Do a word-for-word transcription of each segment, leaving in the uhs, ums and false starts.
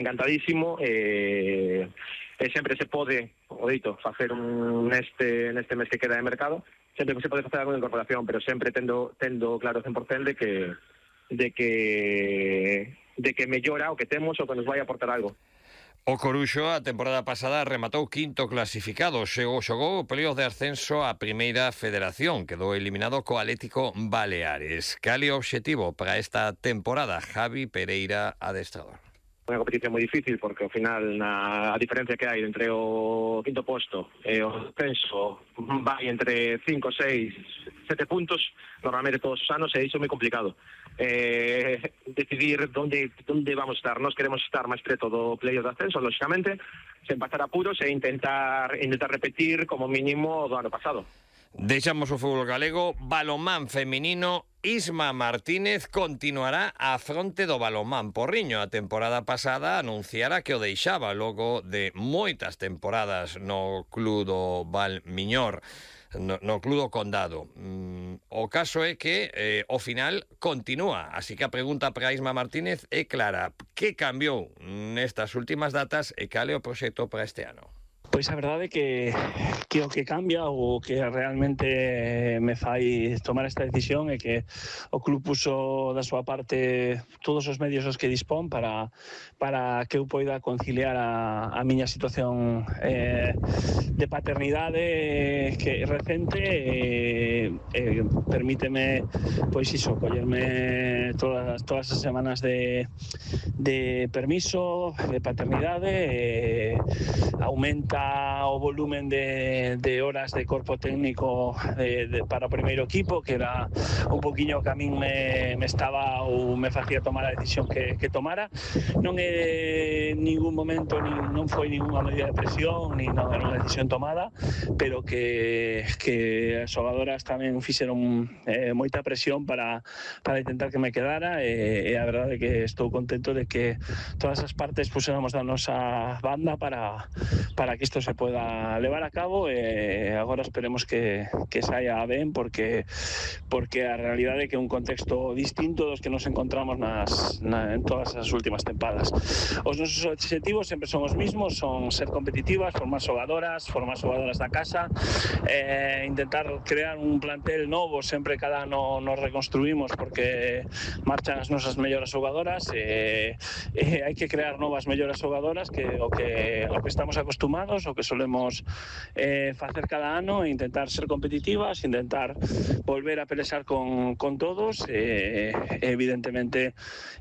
encantadísimo, e, e sempre se pode, o dito, facer un neste, neste mes que queda de mercado, sempre se pode facer alguna incorporación, pero sempre tendo, tendo claro cen por cento de que, de que, de que mellora o que temos o que nos vai aportar algo. O Coruxo a temporada pasada rematou quinto clasificado, xogou, xogou o playoff de ascenso á Primeira Federación, quedou eliminado co Atlético Baleares. Cal é o obxectivo para esta temporada? Javi Pereira, adestrador. Unha competición moi difícil porque ao final na, a diferencia que hai entre o quinto posto e o ascenso vai entre cinco, seis, sete puntos normalmente todos os anos, e iso é moi complicado. Eh, decidir onde, onde vamos estar. Nós queremos estar máis preto do playoff de ascenso, lógicamente, sen pasar apuros e intentar intentar repetir como mínimo do ano pasado. Deixamos o fútbol galego. Balonmán feminino. Isma Martínez continuará á fronte do balonmán Porriño. A temporada pasada anunciara que o deixaba logo de moitas temporadas no club do Valmiñor, no, no club do Condado. Mm, o caso é que eh, ao final continúa, así que a pregunta para Isma Martínez é clara: que cambiou nestas últimas datas e cal é o proxecto para este ano? Pois a verdade é que, que o que cambia ou que realmente me fai tomar esta decisión é que o club puso da súa parte todos os medios os que dispón para, para que eu poida conciliar a, a miña situación eh, de paternidade que recente e eh, permíteme pois iso, collerme todas, todas as semanas de, de permiso de paternidade, eh, aumenta o volumen de, de horas de corpo técnico de, de, para o primeiro equipo, que era un poquinho que a min me, me estaba ou me facía tomar a decisión que, que tomara. Non é ningún momento, ni, non foi ninguna medida de presión, ni non era unha decisión tomada, pero que, que as xogadoras tamén fixeron eh, moita presión para, para intentar que me quedara, e, e a verdade é que estou contento de que todas as partes puséramos da nosa banda para, para que isto se pueda levar a cabo, e agora esperemos que, que saia ben, porque porque a realidade é que é un contexto distinto dos que nos encontramos nas, na, en todas as últimas tempadas. Os nosos objetivos sempre son os mismos, son ser competitivas, formar xogadoras, formar xogadoras da casa, eh, intentar crear un plantel novo, sempre cada ano nos reconstruímos porque marchan as nosas mellores xogadoras, e eh, eh, hai que crear novas mellores xogadoras que o que, o que estamos acostumados, o que solemos eh, facer cada ano, e intentar ser competitivas, intentar volver a pelexar con, con todos. Eh, evidentemente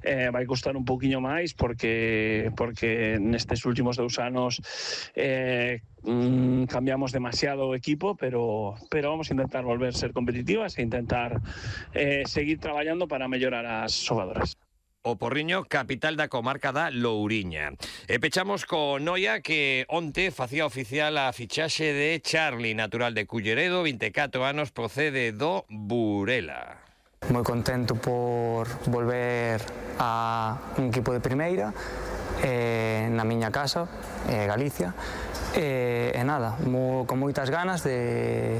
eh, vai costar un pouquiño máis porque porque nestes últimos dous anos eh, mm, cambiamos demasiado o equipo, pero pero vamos a intentar volver a ser competitivas e intentar eh, seguir traballando para mellorar as xogadoras. O Porriño, capital da comarca da Louriña. E pechamos co Noia, que onte facía oficial a fichaxe de Charlie, natural de Culleredo, vinte e catro anos, procede do Burela. Moi contento por volver a un equipo de primeira, eh, na miña casa, eh, Galicia, e, e nada, mo, con moitas ganas de,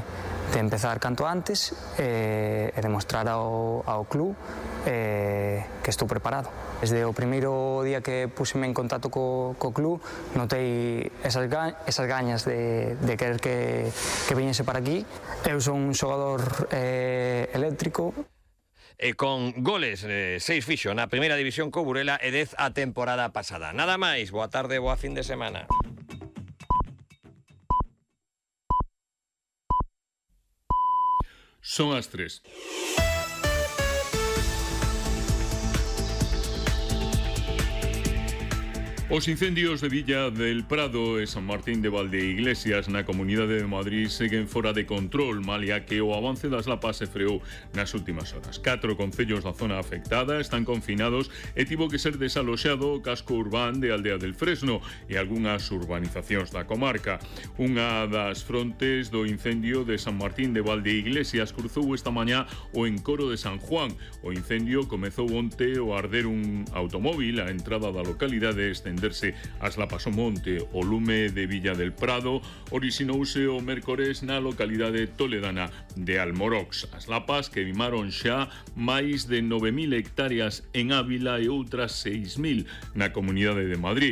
de empezar canto antes e, e demostrar ao, ao club eh, que estou preparado. Desde o primeiro día que puseme en contacto co, co club, notei esas, ga, esas gañas de, de querer que, que viñese para aquí. Eu son un xogador eh, eléctrico. E con goles, eh, seis fixo na primeira división co Burela e dez a temporada pasada. Nada máis, boa tarde, boa fin de semana. Son as tres. Os incendios de Villa del Prado e San Martín de Valdeiglesias na Comunidade de Madrid seguen fora de control, malia que o avance das lapas se freou nas últimas horas. Catro concellos da zona afectada están confinados e tivo que ser desaloxado o casco urbán de Aldea del Fresno e algunhas urbanizacións da comarca. Unha das frontes do incendio de San Martín de Valdeiglesias cruzou esta mañá o encoro de San Juan. O incendio comezou onte ao arder un automóvil á entrada da localidade, estendendo estenderse as lapas ao monte. O lume de Villa del Prado orixinouse o mércores na localidade toledana de Almorox. As lapas queimaron xa máis de nove mil hectáreas en Ávila e outras seis mil na Comunidade de Madrid.